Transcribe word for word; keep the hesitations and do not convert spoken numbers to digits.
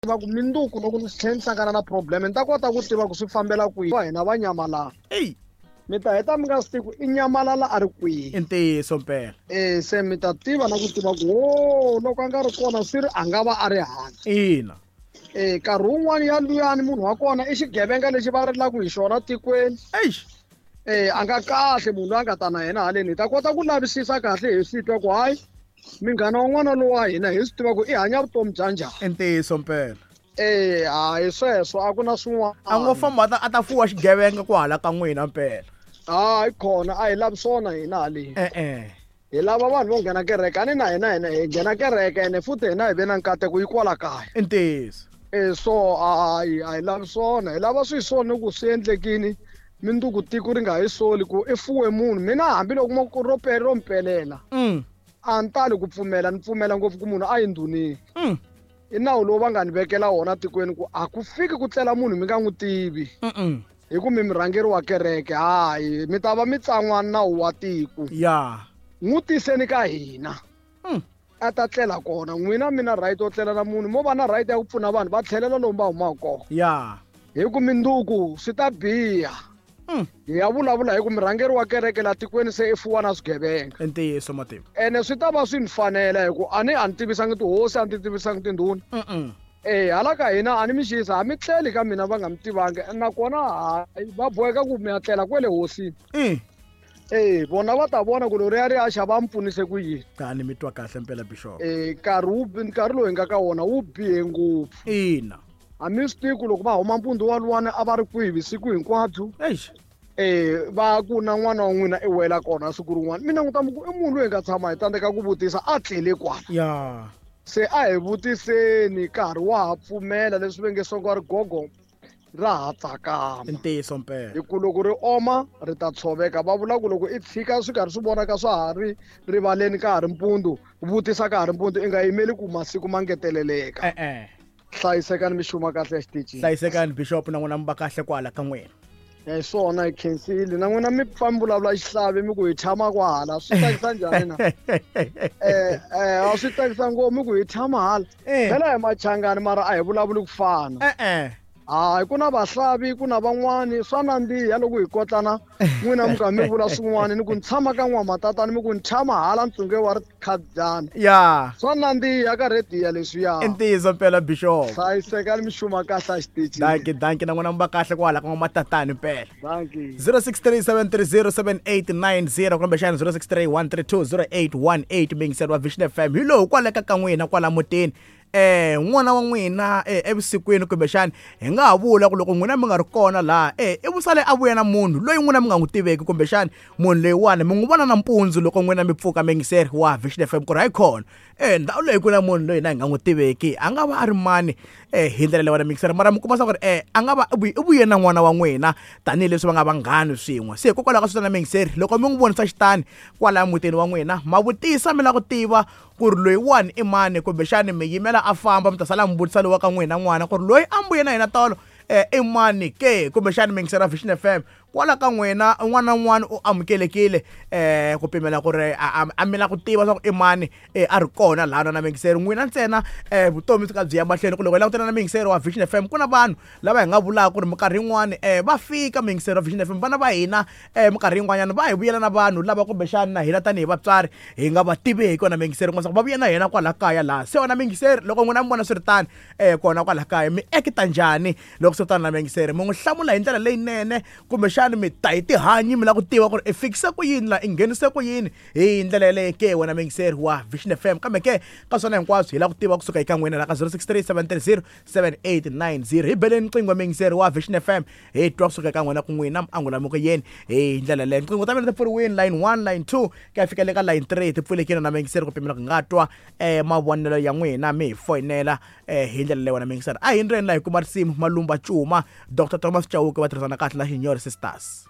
tiva ku minduku loko ni tlhela ni hlangana na problem ni ta kota ku tiva ku swi fambela kwihi wa hina va nyamalala eyi mi ta heta mi nga swi tivi ku i nyamalala a ri kwihi i ntiyiso mpela e se mi ta tiva na ku tiva ku o loko a nga ri kona swi ri a nga va a ri hala ina e nkarhi wun'wani ya luyani munhu wa kona i xigevenga lexi va rilaka hi xona tikweni eish e a nga kahle munhu loyi a nga ta na yena haleni hi ta kota ku lavisisa kahle hi swi twa ku hayi minghana wa n'wana lowa hina hi swi tiva ku i hanya vutomi bya njhani i ntiyiso mpela e hayi sweswo a ku na swin'wana a ngo famba a ta a ta fuwa xigevenga ku hala ka n'wina mpela hayi khona a hi lavi swona hina haleni e-e hi lava vanhu vo nghena kereke a ni na hina hina hi nghena kereke ene futhi hina hi ve na nkateko yi kwala kaya i ntiyiso e so hayi a hi lavi swona hi lava swi swona ku swi endlekini minduku tiko ri nga hi soli ku i fuwe munhu mina hambiloko mo ku ro pe ro mpelela mm a ni tali ku pfumela ni pfumela ngopfu ku munhu a yi ndhunini mm i nawu lowu va nga ni vekela wona tikweni ku a ku fiki ku tlela munhu mi nga n'wi tivi mm hi ku mi murhangeri wa kereke hayi mi ta va mi tsan'wa nawu wa tiko ya n'wi tiseni ka hina mm a ta tlela kona n'wina mi na right yo tlela na munhu mo va na right ya ku pfuna vanhu va tlhelela lomu va humaka kona ya hi ku minduku swi ta biha mm hi ya vulavula hi ku murhangeri wa kereke la tikweni se i fuwa na swigevenga i ntiyiso matimba ene swi ta va swi ni fanela hi ku a ni a ni tivisangi tihosi a ni ti tivisangi tindhuna mm e hala ka hina a ni mi xisa a mi tleli ka mina va nga mi tivangi nakona hayi va boheka ku mi ya tlela kwele hosini i e vona va ta vona ku loriya ri ya xa va mi pfunise ku yini tani mi twa kahle mpela bishop e nkarhi wu nkarhi lowu hi nga ka wona wu bihe ngopfu ina a mi swi tivi ku loko va huma mpundzu waluwani a va ri kwihi vusiku hinkwabyo eish e va ku na n'wana wa n'wina i wela kona siku rin'wana mi languta mi ku i munhu loyi hi nga tshama hi tsandzeka ku vutisa a tlele kwala ya se a hi vutiseni nkarhi wa ha pfumela leswi va nge songo ri gogo ra ha i tsakama ntiyiso mpela hi ku loko ri oma ri ta tshoveka va vula ku loko i tshika swi karhi swi vonaka swa ha ri rivaleni ka ha ri mpundzu vutisa ka ha ri mpundzu i nga yimeli ku masiku ma ngeteleleka e-e hlayisekani mi xuma kahle exitichini hlayisekani bishop na n'wina mi va kahle kwala ka n'wina hi swona hi khensile na n'wina mi pfa mi vulavula xihlavi mi ku hi tshama kwahala swi tsakisa njhani na eh eh a swi tsakisa ngopfu mi ku hi tshama hala Eh. phela hi machangani mara a hi vulavuli ku fana e-e hayi ku na vahlavi ku na van'wani swa nandziha loko hi kotlana n'wina mi ka mi vula swin'wana ni ku ni tshama ka n'wamatatani mi ku ni tshama hala ntsungwe wa ri khadzani ya swa nandziha ka rediya leswiya i ntiyiso mpela bishop hlayisekani mi xuma kahle a xitichini danki danki na n'wina mi va kahle kwala ka n'wamatatani mpela danki zero six three seven three zero seven eight nine zero kumbexana zero six three one three two zero eight one eight mingiseri wa Vision F M hi lowu kwale ka ka n'wina kwala mutini eh n'wana wa n'wina eh evusikwini kumbexani hi nga ha vula ku loko n'wina mi nga ri kona laha eh i vusale a vuya na munhu loyi n'wina mi nga n'wi tiveki kumbexani munhu loyiwani mi n'wi vona nampundzu loko n'wina mi pfuka mingiseri wa Vision F M ku ri hayi khona eh ndhawu leyi ku na munhu loyi na hi nga n'wi tiveki a nga va a ri mani eh hi ndlela leyiwani mingiseri mara mi kuma swa ku ri eh a nga va i vuye- i vuye na n'wana wa n'wina tanihileswi va nga vanghani swin'we se hikokwalaho ka switana mingiseri loko mi n'wi vonisa xitani kwalaya mutini wa n'wina ma vutisa mi lava ku tiva ku ri loyiwani i mani kumbexani mi yimela a famba mi ta sala mi vutisa lowa ka n'wina n'wana ku ri loyi a mbuye na yena tolo eh i mani ke kumbexani mingiseri wa Vision F M kwala ka n'wina un'wana na un'wana u amukelekile eh ku pimela ku ri a a- a mi la ku tiva swa ku i mani eh, a ri kona laha na mingiseri n'wina ntsena eh vutomi byi ka byi ya mahlweni ku loko hi langutana na mingiseri wa Vision F M ku na vanhu lava hi nga vulaka ku ri minkarhi yin'wani eh va fika mingiseri wa Vision F M vana va hina eh minkarhi yin'wanyana va hi vuyela na vanhu lava kumbexani na hina tanihi vatswari hi nga va tiveki wona mingiseri kuma va vuya na hina kwala kaya laha se wona mingiseri loko n'wina mi vona swi ri tani eh kona kwala kaya mi ekita njhani loko swi tani na mingiseri mi n'wi hlamula hi ndlela leyinene kumbexani mi ta hi tihanyi mi lava ku tiva ku ri i fikise ku yini la i nghenise ku yini hi ndlela yeleyo ke wena mingiseri wa Vision F M kambe ke ka swona hinkwaswo hi lava ku tiva kusuka eka n'wina la ka zero six three seven three zero seven eight nine zero hi beleni nqingho mingiseri wa Vision F M hi twa kusuka eka n'wina ku n'wina mi angula mi ku yini hi ndlela leyo nqingho ta mina ti pfuriwini line one line two ku ya fika le ka line three ti pfulekile na mingiseri ku pimela ku nga twa eh mavonelo ya n'wina mi hi foyinela eh hi ndlela leyo wena mingiseri a hi ndleni laha hi kuma risimu Malumba Cuma Doctor Thomas Chauke va tirhisana kahle na Xinyori Sisters.